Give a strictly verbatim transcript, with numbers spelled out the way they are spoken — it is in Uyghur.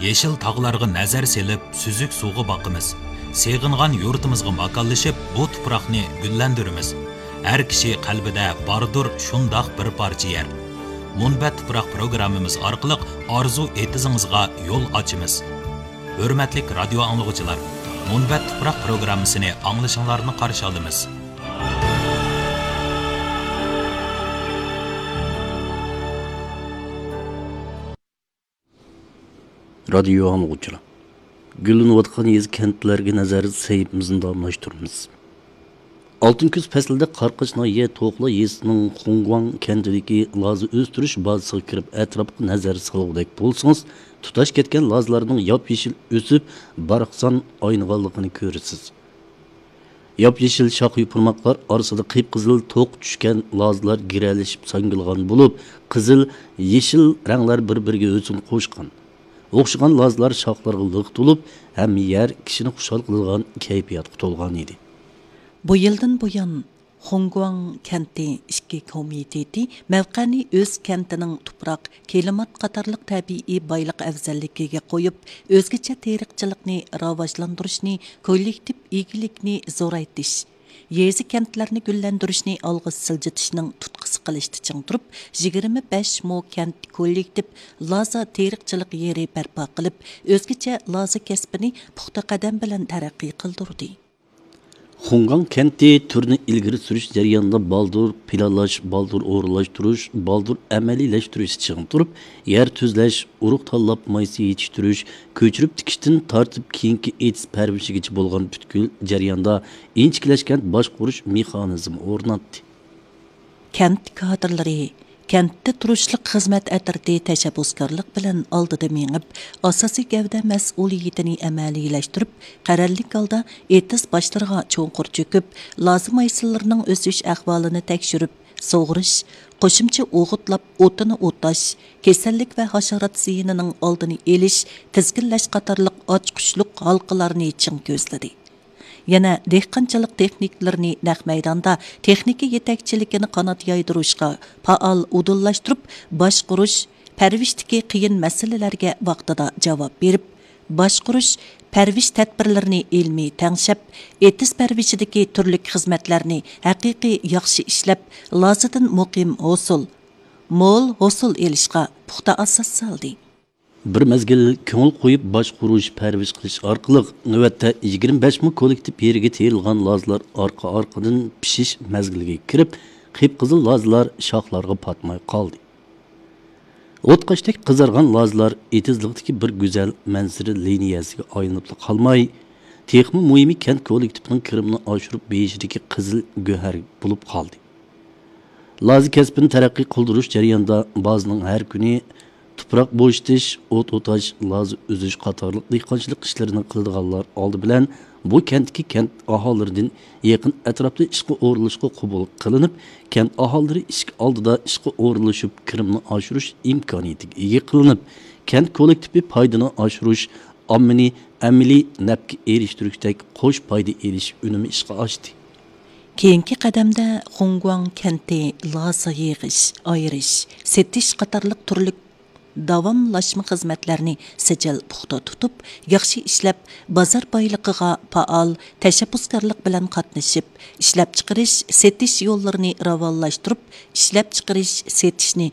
يېشىل تاغلارغا نەزەر سېلىپ، سۈزۈك سۇغا باقىمىز. سېغىنغان يۇرتىمىزغا ماكانلىشىپ، بۇ تۇپراقنى گۈللەندۈرىمىز. ھەر كىشى قەلبىدە باردۇر شۇنداق بىر پارچە يەر. مۇنبەت تۇپراق پروگراممىمىز ئارقىلىق ئارزۇ ئېتىزىڭىزغا يول ئاچىمىز. ھۆرمەتلىك رادىيو ئاڭلىغۇچىلار، مۇنبەت تۇپراق پروگراممىسىنى ئاڭلىشىڭلارنى قارشى ئالىمىز. رادىيو ئاڭلىغۇچىلار، گۈللىنىۋاتقان يېزا كەنتلەرگە نەزەر سەھىپىمىزنى داۋاملاشتۇرىمىز. ئالتۇن كۈز پەسلىدە قاراقاش ناھىيە توخلا يېزىسىنىڭ خۇڭگۇاڭ كەنتىدىكى لازا ئۆستۈرۈش بازىسىغا كىرىپ ئەتراپقا نەزەر سالغۇدەك بولسىڭىز، تۇتاش كەتكەن لازىلارنىڭ ياپيېشىل ئۆسۈپ، باراقسان ئاينىغانلىقىنى كۆرىسىز. ياپيېشىل شاخ يوپۇرماقلار ئارىسىدا قىپقىزىل توق چۈشكەن لازىلار گىرەلىشىپ ساڭگىلىغان بولۇپ، قىزىل، يېشىل رەڭلەر بىر-بىرىگە ھۆسن قوشقان. ئوخشىغان لازىلار شاخلارغا لىق تولۇپ، ھەممە يەر كىشىنى خۇشال قىلىدىغان كەيپىياتقا تولغان ئىدى. بۇ يىلدىن بۇيان، خۇڭگۇاڭ كەنتى ئىككى كومىتېتى مەۋقەنى ئۆز كەنتىنىڭ تۇپراق، كىلىمات قاتارلىق تەبىئىي بايلىق ئەۋزەللىكىگە قويۇپ، ئۆزگىچە تېرىقچىلىقنى راۋاجلاندۇرۇشنى، كوللېكتىپ ئىگىلىكنى زورايتىش، يېزا، كەنتلەرنى گۈللەندۈرۈشنى ئالغا سىلجىتىشنىڭ تۇتقىسى قىلىشتا چىڭ تۇرۇپ، يىگىرمە بەش مو كەنت كوللېكتىپ لازا تېرىقچىلىق يېرى بەرپا قىلىپ، ئۆزگىچە لازا كەسپىنى پۇختا قەدەم بىلەن تەرەققىي قىلدۇردى. خۇڭگاڭ كەنتى تۈرنى ئىلگىرى سۈرۈش جەريانىدا بالدۇر پىلانلاش، بالدۇر ئورۇنلاشتۇرۇش، بالدۇر ئەمەلىيلەشتۈرۈشتە چىڭ تۇرۇپ، يەر تۈزلەش، ئۇرۇق تاللاپ مايسا يېتىشتۈرۈش، كۆچۈرۈپ تىكىشتىن تارتىپ كېيىنكى ئېتىز پەرۋىشىگىچە بولغان پۈتكۈل جەرياندا ئىنچىكىلەشكەن باشقۇرۇش مېخانىزمى ئورناتتى. كەنت كادىرلىرى، كەنتتە تۇرۇشلۇق خىزمەت ئەترىتى تەشەببۇسكارلىق بىلەن ئالدىدا مېڭىپ، ئاساسىي گەۋدە مەسئۇلىيىتىنى ئەمەلىيلەشتۈرۈپ، قەرەللىك ھالدا ئېتىز باشلىرىغا چوڭقۇر چۆكۈپ، لازا مايسىلىرىنىڭ ئۆسۈش ئەھۋالىنى تەكشۈرۈپ، سۇغۇرۇش، قوشۇمچە ئوغۇتلاپ ئوتىنى ئوتاش، كېسەللىك ۋە ھاشارات زىيىنىنىڭ ئالدىنى ئېلىش، تىزگىنلەش قاتارلىق ئاچقۇچلۇق ھالقىلارنى چىڭ كۆزلىدى. يەنە دېھقانچىلىق تېخنىكلىرىنى نەق مەيداندا تېخنىكا يېتەكچىلىكىنى قانات يايدۇرۇشقا پائال ئۇدۇللاشتۇرۇپ، باشقۇرۇش، پەرۋىشتىكى قىيىن مەسىلىلەرگە ۋاقتىدا جاۋاب بېرىپ، باشقۇرۇش، پەرۋىش تەدبىرلىرىنى ئىلمىي تەڭشەپ، ئېتىز پەرۋىشىدىكى تۈرلۈك خىزمەتلەرنى ھەقىقىي ياخشى ئىشلەپ، لازىدىن مۇقىم ھوسۇل، مول ھوسۇل ئېلىشقا پۇختا ئاساس سالدى. بىر مەزگىل كۆڭۈل قويۇپ باشقۇرۇش، پەرۋىش قىلىش ئارقىلىق، نۆۋەتتە يىگىرمە بەش مو كوللېكتىپ يېرىگە تېرىلغان لازىلار ئارقا-ئارقىدىن پىشىش مەزگىلىگە كىرىپ، قىپقىزىل لازىلار شاخلارغا پاتماي قالدى. ئوتقاشتەك قىزارغان لازىلار ئېتىزلىقتىكى بىر گۈزەل مەنزىرە لىنىيەسىگە ئايلىنىپلا قالماي، تېخىمۇ مۇھىمى كەنت كوللېكتىپىنىڭ كىرىمىنى ئاشۇرۇپ بېرىشىدىكى قىزىل گۆھەر بولۇپ قالدى. لازا كەسپىنى تەرەققىي قىلدۇرۇش جەريانىدا بازىنىڭ ھەر كۈنى تۇپراق بوشىتىش، ئوت ئوتاش، لازا ئۈزۈش قاتارلىق دېھقانچىلىق ئىشلىرىنى قىلىدىغانلار ئالدى بىلەن بۇ كەنتتىكى كەنت ئاھالىلىرىدىن يېقىن ئەتراپتا ئىشقا ئورۇنلىشىشقا قوبۇل قىلىنىپ، كەنت ئاھالىلىرى ئىشىك ئالدىدا ئىشقا ئورۇنلىشىپ، كىرىمنى ئاشۇرۇش ئىمكانىيىتىگە ئىگە قىلىنىپ، كەنت كوللېكتىپى پايدىنى ئاشۇرۇش، ئاممىنى ئەمەلىي نەپكە ئېرىشتۈرۈشتەك قوش پايدا ئېلىش ئۈنۈمى ئىشقا ئاشتى. كېيىنكى قەدەمدە خۇڭگۇاڭ كەنتى لازا يىغىش، ئايرىش، سېتىش قاتارلىق تۈرلۈك داۋاملاشما خىزمەتلەرنى سىجىل پۇختا تۇتۇپ، ياخشى ئىشلەپ، بازار بايلىقىغا پائال تەشەببۇسكارلىق بىلەن قاتنىشىپ، ئىشلەپچىقىرىش، سېتىش يوللىرىنى راۋانلاشتۇرۇپ، ئىشلەپچىقىرىش، سېتىشنى